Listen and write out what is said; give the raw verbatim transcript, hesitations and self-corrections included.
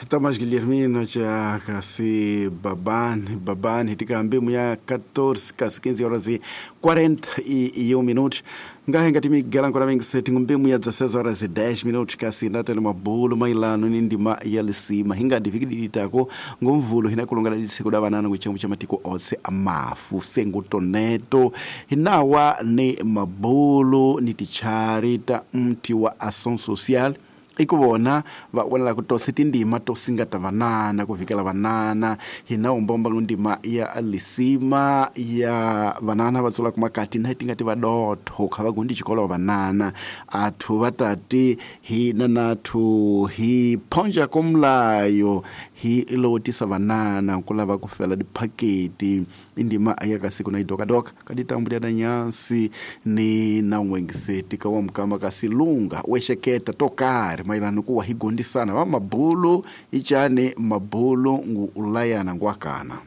Tomás Guilhermino cha kasi babani babani tikambe muya catorze kasi quinze horas e quarenta e um minutos ngahe ngati migela nkona mengiseti ngumbe muya dezesseis horas e dez minutos kasi ndatele mabulu mailano ni ndima ya lisima hingadi vikididitako ngomvulo hinakulongala lisiku da banana kuchengu cha matiko otse amafu sengutoneto hinawa ni mabulu ni tichari ta mti wa ação social ikuvona va vonela ku tose tindima to singata vanana ku vikela vanana hina umbomba ndima ya lisima ya vanana va tsula kumakati na tingati va dotho kha va gundi xikolo vanana athu va tati hina nathu hi phonja komlayo hi lotisa vanana ku lava ku fela diphaketi indima ya ka siku na idokadoka ka ditambu na nyansi ni na n'wengiseti ka wa mukama ka silunga wexeketa to karhi mailano kuwa hi gondisana va mabulu ichane mabulu ngu ulayana ngwakana.